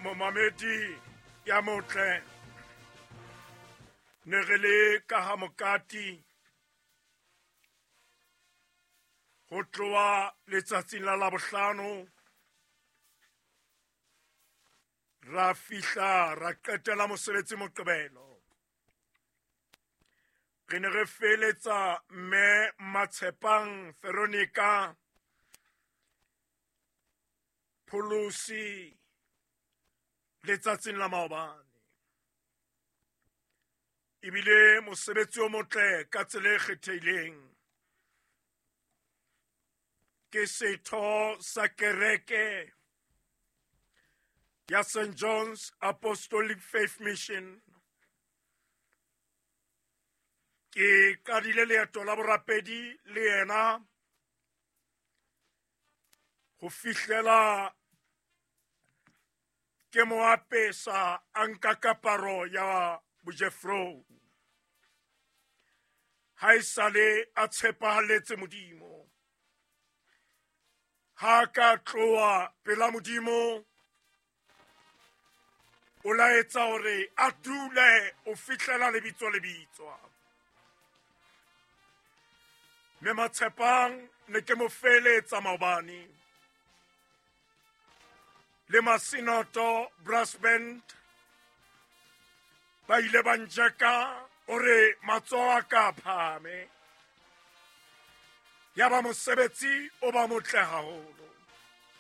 Momamedi ya motle, ne re le ka ha mokati ho tloha letsatsing la Labohlano, ra fihla ra qetela mosebetsi Moqebelo. Re ne re feletsa mme Matshepang Veronica Pholosi letsatsing la maobane. Ebile mosebetsi o motle ka tsela e kgethehileng. Ke setho sa kereke ya St. John's Apostolic Faith Mission. Ke qadile leeto la borapedi le yena ho fihlela ke mo apesa a nka kaparo ya bojefrou. Ha e sale a tshepahaletse Modimo, ha ka tloha pela Modimo, o laetsa hore a dule o fihlela lebitso le bitswa. Mme Matshepang ne ke mo feletsa maobane le Masinoto Brass Band ba ile ba njeka ore matsoho a ka phahame, ya ba mosebetsi o ba motle haholo.